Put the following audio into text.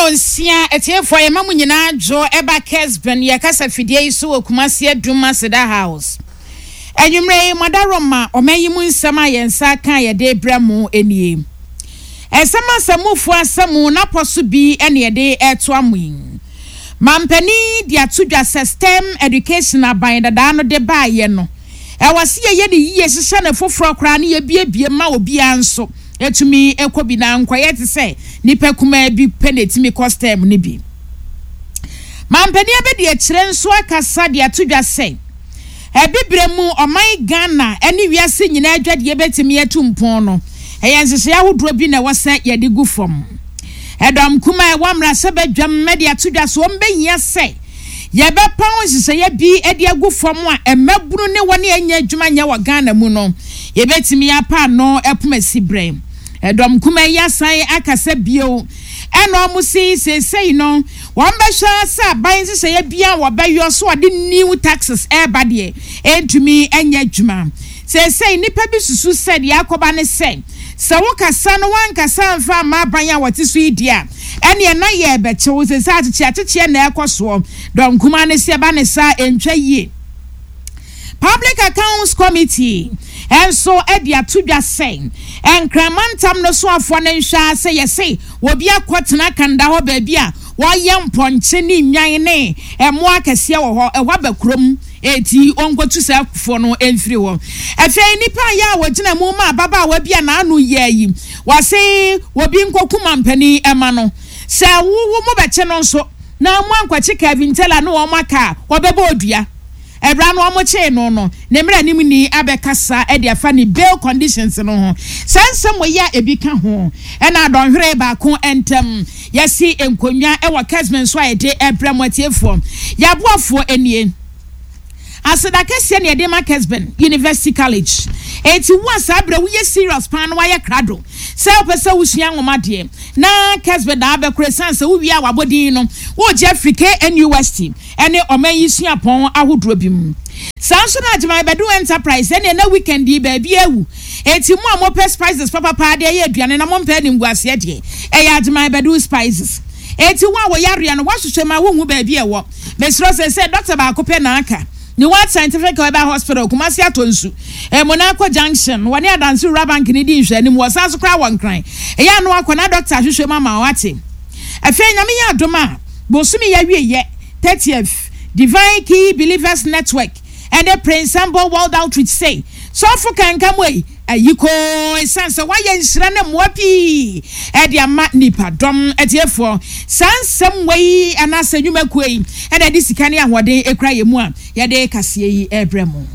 Nnɔnsia, atiefoɔ yɛma mo nyinaa dwo ɛba Kesben yɛ kasa fidie yi so wɔ Kumasi Adum Aseda House. Anwummerɛ yi, mo adaworoma ɔman yi mu nsɛm a yɛn nsa aka a yɛde rebrɛ mo nie. Nsɛm a Samufoɔ Asamu n'apɔ so bi na yɛde retoa mo yi. Mampanin de ato dwa sɛ STEM education aban dadaa no de baeɛ no, ɛwɔ sɛ yɛyɛ no yie, hyehyɛ no foforɔ koraa na yɛbuebue ma obiara nso tumi kɔ bi na ankɔyɛ te sɛ nnipa kumaa bi pɛ na ɛtumi kɔ STEM no bi. Mampanin abadiakyire nso akasa de ato dwa sɛ, Abibire mu ɔman Ghana ne wiase nyinaa adwadie bɛtumi atu mpɔn no, ɛyɛ nhyehyɛeɛ ahodoɔ bi na ɛwɔ sɛ yɛde gu fam. Ɛdɔm kumaa a ɛwɔ mmarahyɛbadwam de ato dwa sɛ wɔbɛhia sɛ yɛbɛpaw nhyehyɛeɛ bi de agu fam a mmabunu ne wɔn a ɛnyɛ adwuma nyɛ wɔ Ghana mu no, yɛbɛtumi apa ano apoma berɛ. Ɛdɔm kumaa yi asan akasa bio ɛna wɔn se seesei no wɔbɛhwɛ ara sɛ aban nhyehyɛeɛ biara a wɔbɛyɔ so wɔde new taxes ɛreba deɛ ɛntumi nyɛ adwuma. Seesei nnipa bi susu sɛ deɛ akɔba ne sɛ, sɛ wokasa na woankasa amfa amma aban a wɔte so yi deɛ a, ɛneɛ na yɛrebɛkye wo. Seesei akyekyeakyekyeɛ na ɛrekɔ soɔ. Dɔm kumaa no se ɛba ne saa a, ɛntwa yie. Public Accounts Committee nso de ato dwa sɛ Nkran mantam no soafoɔ no nhwɛ ara sɛ yɛse obi akɔtena Kanda hɔ baabi a wɔyɛ mpɔnkye ne nnwan ne mmoa akɛseɛ wɔ hɔ, ɛhɔ aba kurom enti wɔnkɔtu saa akufoɔ no mfiri hɔ. Afei nnipa a yɛ a wɔgyina mu ma ababaawa bi a n'ano yɛ ayi, wɔse obi nkɔku mampanin mma no. Sɛ wo wo mobɛkye no nso na moankɔkye Kevin Taylor ne wɔn aka a, wɔbɛbɔ odua. Ɛberɛ a na wɔkyee no no, ne mmaranimni abɛkasa de afa ne bail conditions no ho. Saa nsɛm wei a ebi ka ho na dɔnhwere baako ntam yɛasi nkonnwa wɔ Kesben so a yɛde rebrɛ mo atiefoɔ. Yɛn aboafoɔ nie. Aseda kɛseɛ na yɛde ma Kesben University College. Enti wo a saa berɛ woyɛ serious paa na woayɛ krado sɛ wopɛ sɛ wosua nwoma deɛ, na Kesben na abɛkora ɛsiane sɛ wowie a wabɔ din no, woregye afiri KNUST. ne ɔman yi suapɔn ahodoɔ bi mu. Saa nso na Agyemang Badu Enterprise ɛneɛ na weekend yi baabi awu enti mo a mopɛ spices papapaa de ayɛ aduane na mompɛ animguaseɛ deɛ ɛyɛ Agyemang Badu Spices. Enti wo a wo yareɛ no woahwehwɛ mu a wonhu baabi a ɛwɔ mesrɛ seesei doctor baako pɛ na aka New World Scientific Herbal Hospital Kumasi Atonsu Monaco Junction wɔne Adanse Rural Bank no di nhwɛanim wɔsan so koraa wɔ Nkran ɛyɛ a na wakɔ na doctor ahwehwɛ mu ama wo ate. Afei Nyame yɛ adom a, bosome yi awieyɛ, 30th, Divine Key Believers Network ɛne Prince Sambo World Outreach se, Sɔfo Kanka Moe ayi koo esiane sɛ wayɛ nhyira ne mmoa pii de ama nnipa dɔm. Atiefoɔ, saa nsɛm wei anaasɛ nnwumakuo yi na ɛde sika ne ahoɔden kura yɛn mu a yɛde kaseɛ yi rebrɛ mo.